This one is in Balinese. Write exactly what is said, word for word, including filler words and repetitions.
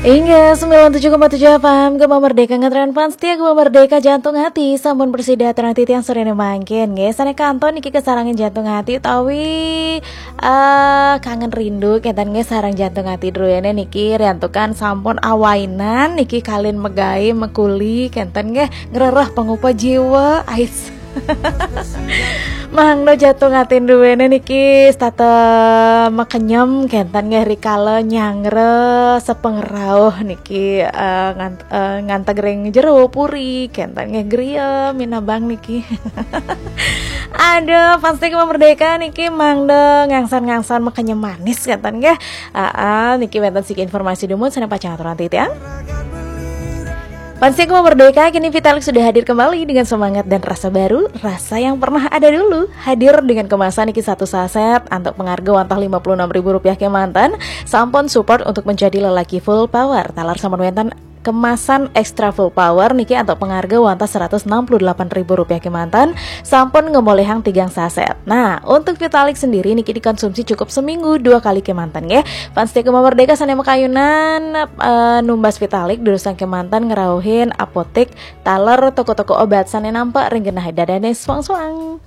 Inggih, sembilan tujuh koma tujuh F M, Gema Merdeka, ngetren fans setia Gema Merdeka, Jantung Hati, sampun bersida aturang titiang sorene mangkin, nggih. Sane kantun niki kesarengan Jantung Hati utawi, eh, Kangen Rindu, kenten nggih, sareng Jantung Hati druene niki riantukan sampun awainan niki kalin megai mekuli, kenten nggih, ngrereh pengupa jiwa, ais. Mangda Jantung Hati druene niki setata mekenyem, kenten nggih, rikala nyanggra sepengrauh niki, eh, ngan-, eh, nganteg ring jero puri, kenten nggih, griya minabang niki. Aduh, fans Gema Merdeka niki mangda ngangsan-ngangsan mekenyem manis, kenten nggih. Aa, niki wenten siki informasi dumun sane pacang aturang titiang. Fans Gema Merdeka, kini Vitalik sudah hadir kembali dengan semangat dan rasa baru, rasa yang pernah ada dulu. Hadir dengan kemasan niki satu saset antuk pengarga wantah lima puluh enam ribu rupiah kemanten, sampun support untuk menjadi lelaki full power. Taler sampun wenten kemasan extra full power niki antuk pengarga wantah seratus enam puluh delapan ribu rupiah kemanten, sampun ngemolihang tigang saset. Nah, untuk Vitalik sendiri niki dikonsumsi cukup seminggu dua kali kemanten nggih. Fans Gema Merdeka sane makayunan, eh, numbas Vitalik durusang kemanten ngrauhin apotek taler toko-toko obat sane nampak ring genah dadane suang-suang.